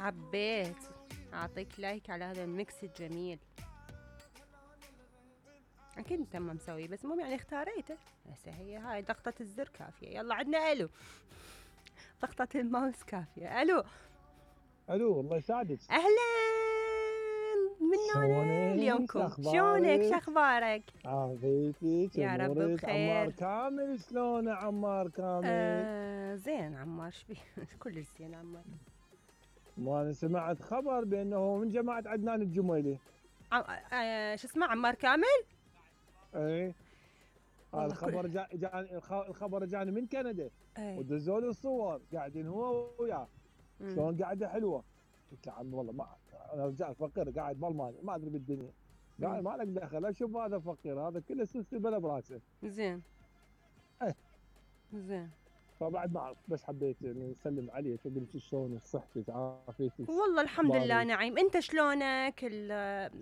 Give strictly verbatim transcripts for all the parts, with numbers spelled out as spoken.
حبيت اعطيك لايك على هذا الميكس الجميل. اكيد انت ما مسوي، بس المهم يعني اختاريته. هسه هي هاي ضغطة الزر كافية. يلا عندنا الو، ضغطة الماوس كافية. الو الو، الله يسعدك. اهلا، من هنا اليومكم. شلونك؟ شخبارك؟ عافيتك يا رب بخير. عمار كامل، شلونه عمار كامل؟ آه زين عمار، شبيه؟ كلش زين عمار. ما انا سمعت خبر بانه من جماعه عدنان الجميلي. عم... آه شو اسمه عمار كامل؟ ايه، والله الخبر كل... جا... جاني الخبر جاني من كندا. ايه. ودزوا لي الصور قاعدين هو وياه. شلون قاعده حلوه. قلت له عمي والله ما انا رجال فقير قاعد بالمانيا ما ادري بالدنيا. قال ما لك دخل، اشوف هذا فقير، هذا كله سلسله بلا براسه. زين. ايه زين. فبعد ما اعرف، بس حبيت اني اسلم عليك وقلت شلونك، صحتك، عافيتك؟ والله الحمد لله نعيم. انت شلونك؟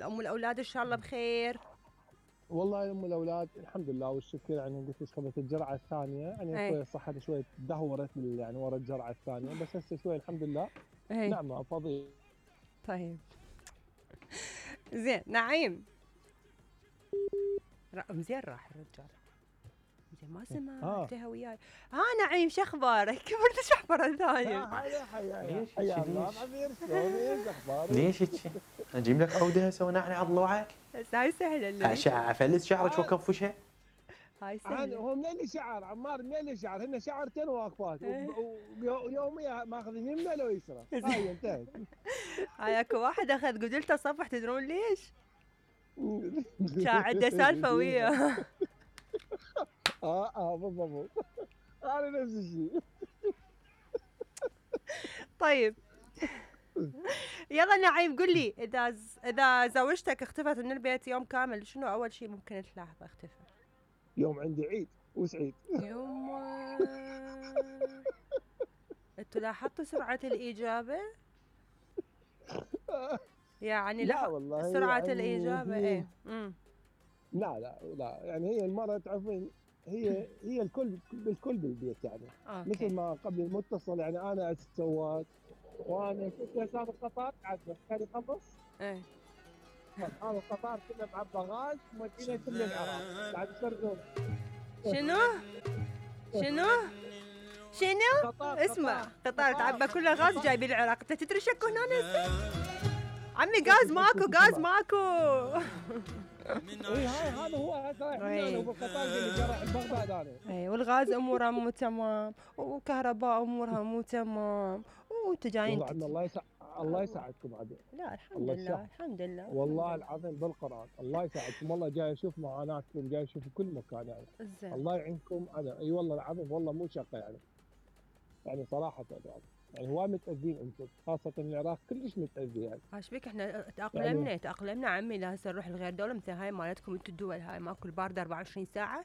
ام الاولاد ان شاء الله بخير؟ والله ام الاولاد الحمد لله والشكر. يعني قلت لك خذت الجرعه الثانيه، يعني شوي صحتي شوي تدهورت يعني ورا الجرعه الثانيه، بس هسه شوي الحمد لله. ايه. نعمه فضيل. طيب زين نعيم. زين راح الرجال. زين ما سمعتها آه. وياي. ها نعيم شخبارك؟ كبرت شخبره ثانيه. حيا حيا حيا الله حبيبي، شلونك؟ اخبارك؟ ليش هيك؟ اجيب لك عوده هسه ونعني على ضلوعك؟ هسه هاي سهله. اشعه فلس شعرك وكفشها. هاي سهله. هو منين شعر عمار؟ منين شعر؟ هن شعرتين واقفات ويوميا ماخذين يمنى لو يسرى. هاي انتهت. هاي اكو واحد اخذ قدلته صفح، تدرون ليش؟ كان عنده سالفه وياه. اه اه بالضبط. انا نفس الشيء. طيب يلا نعيم قل لي، اذا ز... اذا زوجتك اختفت من البيت يوم كامل، شنو اول شيء ممكن تلاحظه اختفى؟ يوم عندي عيد وسعيد. يوم انتوا لاحظتوا سرعة الإجابة؟ يعني لا والله سرعة يعني الإجابة ايه؟ امم لا لا لا يعني هي المرة تعرفين، هي هي الكل بالكل بالبيت يعني. أوكي. مثل ما قبل المتصل يعني انا اتسوات وانا كنت اسافر قطار قاعد كان يخلص. ايه. هذا القطار كله معبى غاز مودينا كله العراق قاعد يسرقون. شنو؟ شنو؟ شنو؟ قطار اسمع، قطار تعبى كله غاز جايبين العراق. انت تدري شكو هنا هسه؟ عمي غاز ماكو، غاز ماكو. اي هاي هذا هو هسه احنا بالقطار اللي جرى بغداد انا. اي والغاز امورها مو تمام، وكهرباء امورها مو تمام، وانت جايين. والله الله يسعد، الله يساعدكم عاد. لا الحمد لله الحمد لله والله العظيم بالقران الله يساعدكم. والله جاي اشوف معاناتكم، جاي اشوف كل مكان يعني. زين. الله يعينكم. انا اي والله العظيم والله مو شقه يعني. يعني صراحه يعني يعني هواي متاذين انتم، خاصه العراق كلش متاذي يعني. ايش بك احنا تاقلمنا يعني تاقلمنا عمي. لا هسه نروح لغير دوله مثل هاي مالتكم انتم الدول هاي ماكو البارده أربعة وعشرين ساعه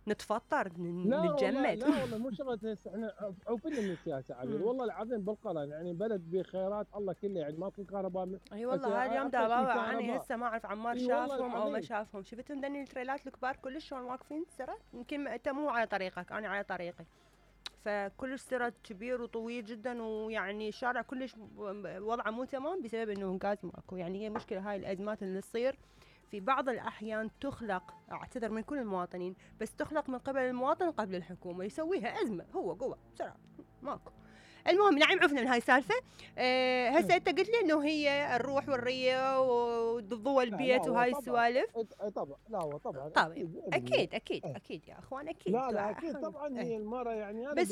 نتفطر نتجمد. لا والله مو شغله هسه احنا عوفين من السياسه عبير. والله العظيم بالقران يعني بلد بخيرات الله كله يعني ماكو كهرباء. اي والله هاليوم دابا انا هسه ما اعرف عمار شافهم او ما شافهم. شفتوا ذني التريلات الكبار كلش شلون واقفين سرعه؟ يمكن انت مو على طريقك انا على طريقي، فكلش سرعة كبير وطويل جدا، ويعني الشارع كلش وضعه مو تمام بسبب انه غاز ماكو. يعني هي مشكلة هاي الازمات اللي تصير في بعض الاحيان تخلق، اعتذر من كل المواطنين، بس تخلق من قبل المواطن قبل الحكومة يسويها ازمة هو قوة بسرعة ماكو. المهم نعيم عرفنا من هاي السالفة. أه هسه انت قلت لي انه هي الروح والرية وضوء البيت وهاي السوالف. طبعا لا هو طبعا طبعا اكيد اكيد اكيد, أكيد يا اخوان اكيد. لا لا اكيد طبعا. هي المرة يعني انا